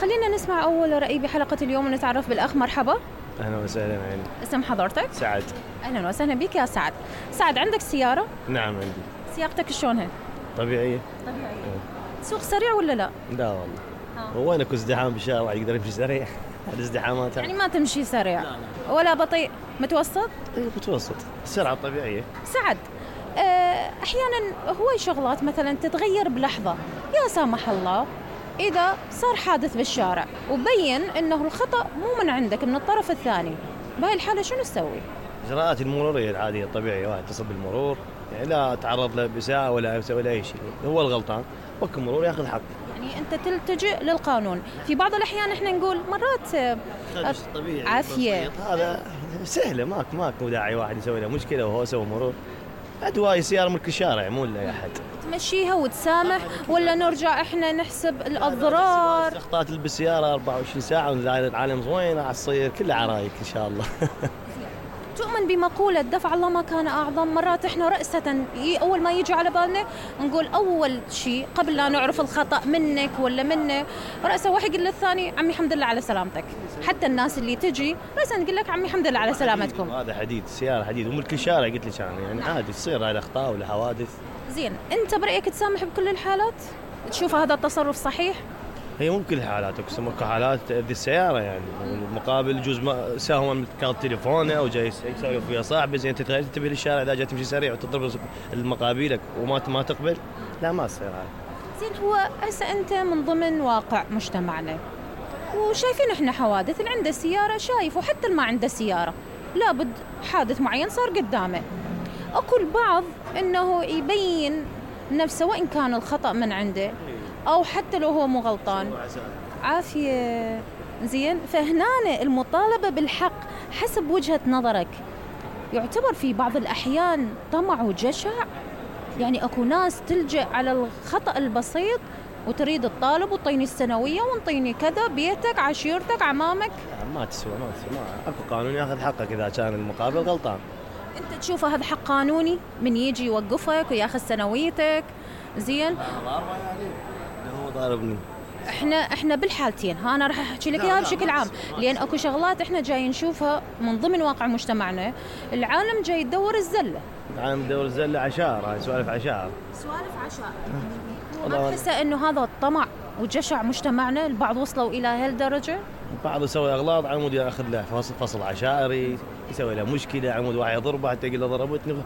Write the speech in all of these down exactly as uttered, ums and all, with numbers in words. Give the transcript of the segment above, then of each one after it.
خلينا نسمع أول رأي بحلقة اليوم ونتعرف بالأخ. مرحبا. أهلا وسهلا عيني. اسم حضرتك؟ سعد. أهلا وسهلا بك يا سعد. سعد، عندك سيارة؟ نعم عندي. سياقتك شلونها؟ طبيعية. طبيعية. تسوق سريع ولا لا؟ لا والله. هو أنا كنت ازدحام بالشارع يقدر يمشي سريع؟ الازدحامات يعني ما تمشي سريع؟ لا لا. ولا بطيء؟ متوسط؟ إيه متوسط، السرعة طبيعية. سعد، أحيانا هواي شغلات مثلا تتغير بلحظة، يا سامح الله إذا صار حادث بالشارع وبين إنه الخطأ مو من عندك، من الطرف الثاني، بهاي الحالة شنو نسوي؟ إجراءات المرورية العادية الطبيعية، واحد يتصل بالمرور يعني لا تعرض له بساعة ولا ولا أي شيء، هو الغلطان وكل مرور ياخذ حق. يعني أنت تلتجئ للقانون. في بعض الأحيان إحنا نقول مرات طبيعي عافية، هذا سهلة، ماك ماك مو داعي واحد يسوي له مشكلة وهو سوى مرور. أدواء سيارة ملك الشارع مو لأي أحد. تمشيها وتسامح ولا نرجع إحنا نحسب الأضرار؟ أخطاء بالسيارة أربعة وعشرين ساعة والعالم زوين راح تصير كلها عرايك إن شاء الله. تؤمن بمقولة دفع الله ما كان أعظم؟ مرات إحنا رأسة أول ما يجي على بالنا نقول أول شيء قبل لا نعرف الخطأ منك ولا منه، رأسه واحد يقول للثاني عمي الحمد لله على سلامتك. حتى الناس اللي تجي رأسا تقول لك عمي الحمد لله على سلامتكم. هذا حديد، السيارة حديد وملك الشارع قلت لك يعني, يعني عادي تصير هاي الأخطاء ولا حوادث. زين، أنت برأيك تسامح بكل الحالات؟ تشوف هذا التصرف صحيح؟ هي مو كل الحالات، اقسم لك حالات تأذي السيارة يعني، المقابل يجوز ما سهوا كارت تليفونه او جاي يسولف ويا صاحبه، زين تتغير تنتبه للشارع اذا جاي تمشي سريع وتضرب المقابلك وما ما تقبل، لا ما تصير هاي. زين، هو هسه انت من ضمن واقع مجتمعنا وشايفين احنا حوادث، اللي عنده سيارة شايف وحتى اللي ما عنده سيارة لابد حادث معين صار قدامه. اكو البعض انه يبين نفسه وان كان الخطأ من عنده أو حتى لو هو مو غلطان. عافية. زين، فهنا المطالبة بالحق حسب وجهة نظرك يعتبر في بعض الأحيان طمع وجشع؟ يعني أكو ناس تلجأ على الخطأ البسيط وتريد تطالب وطيني السنوية ونطيني كذا، بيتك عشيرتك عمامك. ما تسوى ما تسوى ما أكو قانون ياخذ حقك إذا كان المقابل غلطان. أنت تشوفه هذا حق قانوني من يجي يوقفك وياخذ سنويتك؟ زين، هو ضاربني. احنا احنا بالحالتين، ها انا راح احكي لك اياها بشكل عام، لان اكو شغلات احنا جاي نشوفها من ضمن واقع مجتمعنا. العالم جاي يدور الزله، العالم يدور الزله عشار، هاي سوالف عشار سوالف عشار. ما تحس انه هذا الطمع وجشع مجتمعنا البعض وصلوا الى هالدرجه؟ بعض يسوي اغلاط على مود ياخذ له فصل, فصل عشائري، يسوي له مشكله على مود واحد يضربه حتى يقول له ضربتني،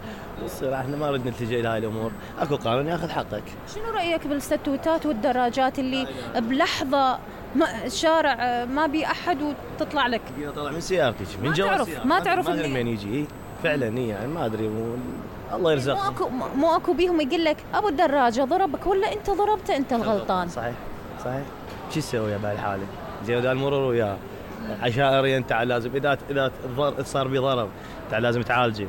يصير احنا ما ردنا نلتجئ لهاي الامور، اكو قانون ياخذ حقك. شنو رايك بالستوتات والدراجات اللي بلحظه ما الشارع ما بي احد وتطلع لك؟ طلع من سيارتك من جوا السياره ما تعرف ما من يجي فعلا، هي يعني ما ادري و... الله يرزقك. مو اكو مو اكو بيهم يقول لك ابو الدراجه ضربك ولا انت ضربته، انت الغلطان. صحيح صحيح. شو تسوي بهالحاله؟ زين اذا المرور وياه عشائري انت لازم اذا اذا صار بي ضرب انت لازم تعالجه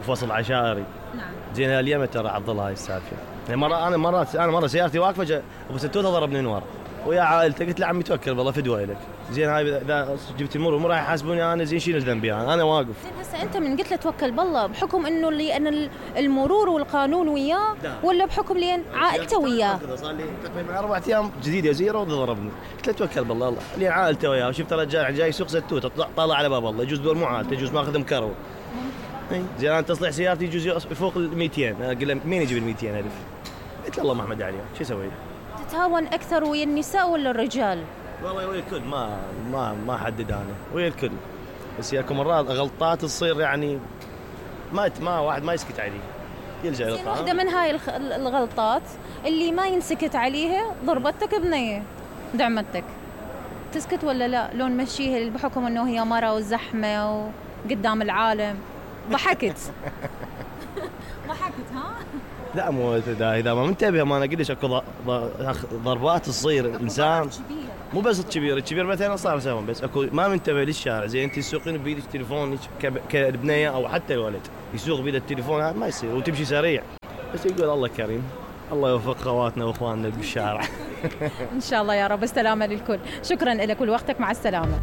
وفصل عشائري. نعم. زين اليوم ترى عضل هاي السالفه. يعني مره انا مرات انا مره سيارتي واقفه ابو ستوته ضربني من ورا ويا عائلته، قلت له عمي توكل بالله فدوه لك. زين هاي اذا جبت المرور مو راح يحاسبوني انا، زين شيل ذنبي انا انا واقف. زين هسه انت من قلت له توكل بالله بحكم انه اللي انا المرور والقانون وياه ولا بحكم لين عائلته وياه؟ صار لي تقريبا اربع ايام جديده زيرو ضربني، قلت له توكل بالله الله لين عائلته وياه، وشفت رجال جاي يسوق ستوته طالع على باب الله، يجوز دور مو عائلته، يجوز ماخذ مكرو. زين انا تصليح سيارتي يجوز يفوق ال مئتين، انا اقول له مين يجيب ال مئتين الف؟ قلت له الله محمد عليه، شو اسوي؟ تتهاون اكثر ويا النساء ولا الرجال؟ والله ويا الكل، ما ما ما احدد انا، ويا الكل. بس ياكو مرات غلطات تصير يعني ما ما واحد ما يسكت عليه، يلجأ الى القانون. واحده من هاي الغلطات اللي ما ينسكت عليها ضربتك بنيه دعمتك، تسكت ولا لا؟ لو نمشيها بحكم انه هي مره وزحمه وقدام العالم ضحكت. ضحكت ها؟ لا مو اذا اذا ما منتبه، ما انا قلت اكو ضربات تصير الانسان مو بس الكبير، الكبير مثلا صار سوا، بس اكو ما منتبه للشارع. زين انت تسوقين بايدك تليفونك كالبنيه او حتى الولد يسوق بيده التليفون، هذا ما يصير وتمشي سريع، بس يقول الله كريم، الله يوفق خواتنا واخواننا بالشارع. ان شاء الله يا رب. السلامه للكل. شكرا لك ولوقتك، مع السلامه.